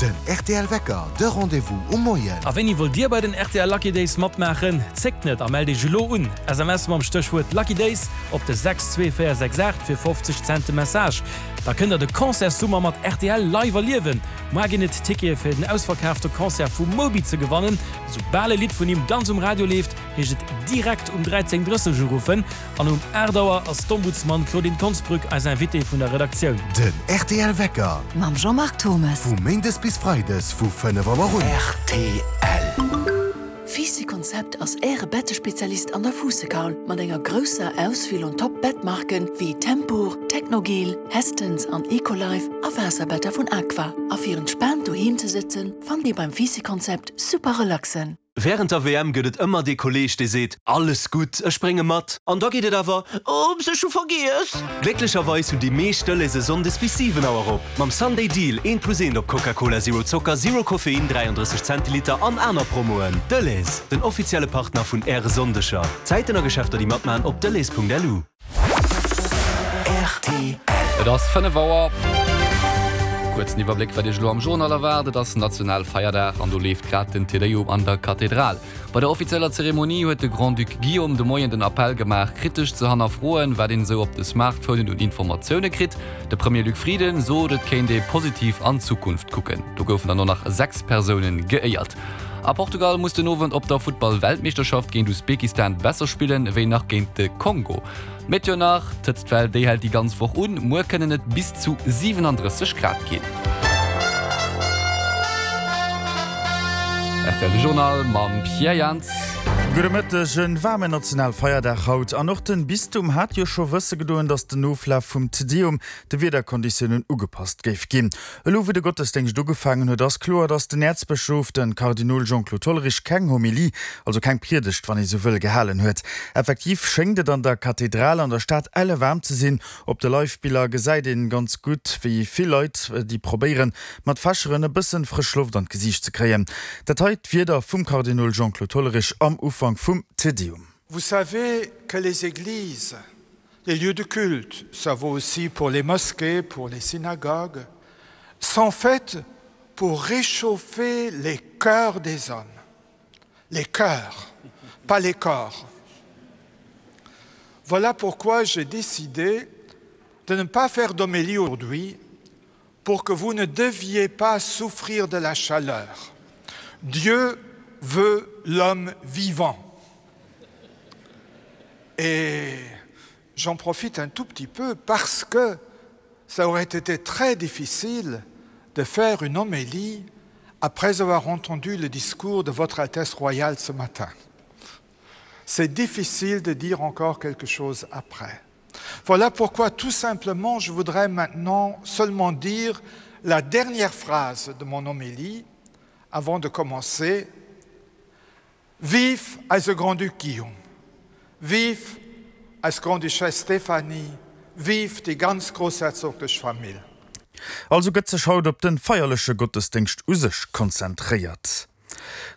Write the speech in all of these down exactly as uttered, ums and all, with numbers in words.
Den rtl Wecker, de Rendez-vous um Moien. A wéini wëllt Dir bei den rtl Lucky Days matmaachen? Zéckt net a mellt Iech elo un! S M S mam Stéchwuert Lucky Days op de sechs zwee véier sechs aacht fir fofzeg Cent de Message. Da kënnt der de Concertssummer mat rtl live erliewen! Muar ginn et Tickete fir den ausverkaafte Concert vum Moby ze gewannen. Soubal e Lidd vun him ganz um Radio leeft, heescht et direkt um dräizéng drësseg uruffen. An um aacht Auer ass d'Ombudsman Claudine Konsbrück eis Invitée vun der Redaktioun. Den rtl Wecker. Mam Jean-Marc Thomes. Vu méindes bis freides vu fënnef Auer un. Rtl. Fisi Konzept ass Äre Bettespezialist an der Fuussekaul mat enger grousser Auswiel un Top-Bettmarken wéi Tempur, Technogel, Hästens an Ecolife a Waasserbetter vun Aqua. A fir entspaant doheem ze sëtzen, fannt Dir beim Fisi Konzept super relaxen. Wärend der W M gëtt et ëmmer dee Kolleeg, dee seet, Alles gutt, ech brénge mat. An da geet et awer, Oops, ech hu vergiess! Glécklecherweis hunn déi meescht Delhaize sonndes bis siwen Auer op. Mam Sunday Deal, eent plus eent op Coca-Cola Zero Zocker, Zero Koffein, dräiandrësseg Zentiliter an aner Promoen. Delhaize, den offizielle Partner vun Äre Sonndeger. Zäiten a Geschäfter déi matmaachen op delhaize Punkt L U. Rtl. Et ass fënnef Auer. Kuerzen Iwwerbléck, wat Iech elo am Journal erwaart, Et ass Nationalfeierdag an do leeft grad den Te Deum an der Kathedral. Bei der offizieller Zeremonie huet de Grand-Duc Guillaume de Moien den Appell gemaach, kritesch ze hannerfroen, wat een esou op de Smartphonen un Informatioune kritt. De Premier Luc Frieden sot, et kéint ee positiv an d'Zukunft kucken. Do goufen dann och nach sechs Persounen geéiert. A Portugal muss den Owend op der Futtball-Weltmeeschterschaft géint Usbekistan besser spillen, ewéi nach géint de Kongo. Meteo nach, D'Hëtztwell déi hält déi ganz Woch un, muer kënnen et bis zu siwenandrësseg Grad ginn. R T L de Journal mam Pierre Jans. Gudde Mëtteg, En waarmen Nationalfeierdag haut an och den Bistum hat jo scho wësse gedoen, datt den Oflaf vum Te Deum de Wiederkonditiounen ugepasst géif ginn. Elo wou de Gottesdéngscht ugefaangen huet, ass kloer, datt den Äerzbëschof, de Kardinol Jean-Claude Hollerich keng Homilie, also keng Priedegt, wann ee sou wëll, gehalen huet. Effektiv schéngt et an der Kathedral an der Stad elle waarm ze sinn. Op de Live-Biller gesäit een ganz gutt, wéi vill Leit, déi probéieren, mat Fächeren e bëssen frësch Loft an d'Gesiicht ze kréien. Dat hei d'Wierder vum Kardinol Jean-Claude Hollerich am Ufank vum Te Deum. Vous savez que les églises, les lieux de culte, ça vaut aussi pour les mosquées, pour les synagogues, sont faites pour réchauffer les cœurs des hommes. Les cœurs, pas les corps. Voilà pourquoi j'ai décidé de ne pas faire d'homélie aujourd'hui pour que vous ne deviez pas souffrir de la chaleur. Dieu veut l'homme vivant. Et j'en profite un tout petit peu parce que ça aurait été très difficile de faire une homélie après avoir entendu le discours de Votre Altesse Royale ce matin. C'est difficile de dire encore quelque chose après. Voilà pourquoi tout simplement je voudrais maintenant seulement dire la dernière phrase de mon homélie avant de commencer. Vive eise Grand-Duc Guillaume, vive eis Grande-Duchesse Stéphanie, vive déi ganz groussherzoglech Famill. Also gëtt sech haut op de feierleche Gottesdéngscht u sech konzentréiert.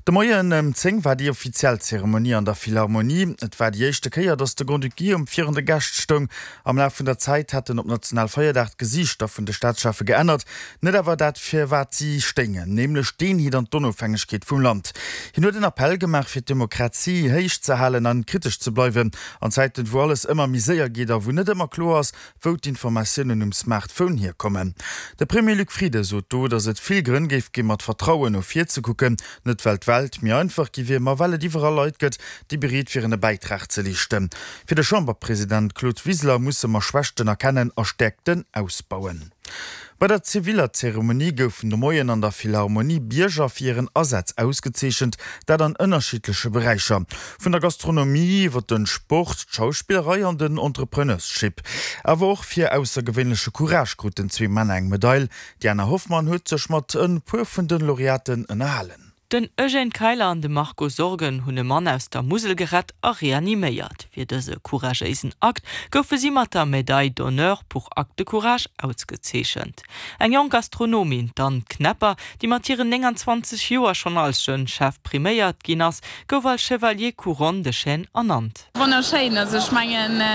De Moien ëm zéng war déi offiziell Zeremonie an der Philharmonie. Et war déi éischte Kéier, datt de Grand-Duc Guillaume virun de Gäscht stoung. Am Laf vun der Zäit hätten op Nationalfeierdag d'Gesiichter vun de Staatscheffe geännert, net awer dat fir wat si stéingen, nämlech d'Eenheet an d'Onofhängegkeet vum Land. Hien huet en Appell gemaach, fir d'Demokratie héich ze halen an kritesch ze bleiwen an Zäiten, wou alles ëmmer méi séier geet a wou net ëmmer kloer ass, wou d'Informatiounen um Smartphone hierkommen. De Premier Luc Frieden sot do, datt et vill Grënn géif gi mat Vertrauen no vir ze kucken, net well d'Welt méi einfach gi wier, ma well et iwwerall Leit gëtt, déi bereet wieren e Bäitrag ze leeschten. Fir de Chamberpresident Claude Wiseler musse mer Schwächten erkennen a Stäerkten ausbauen. Bei der ziviller Zeremonie goufen de Moien an der Philharmonie Bierger fir hiren Asaz ausgezeechent, dat an ënnerschiddleche Beräicher, vun der Gastronomie iwwer de Sport, d'Schauspillerei an den Entrepreneurship. Awer och fir aussergewéinleche Courage kruten zwee Männer eng Medail. D'Diana Hoffmann huet sech mat e puer vun de Laureaten ënnerhalen. Den Eugène Keiler an de Marco Sorgen hunn e Mann aus der Musel gerett a reaniméiert. Fir dëse couragéisen Akt goufe si mat der Médaille d'honneur pour acte de courage ausgezeechent. Eng jonk Gastronomin, d'Anne Knepper, déi mat hiren nénganzwanzeg Joer schonn als Jeune Chef priméiert ginn ass, gouf als Chevalier Couronne de Chêne ernannt. Wonnerschéin, also ech mengen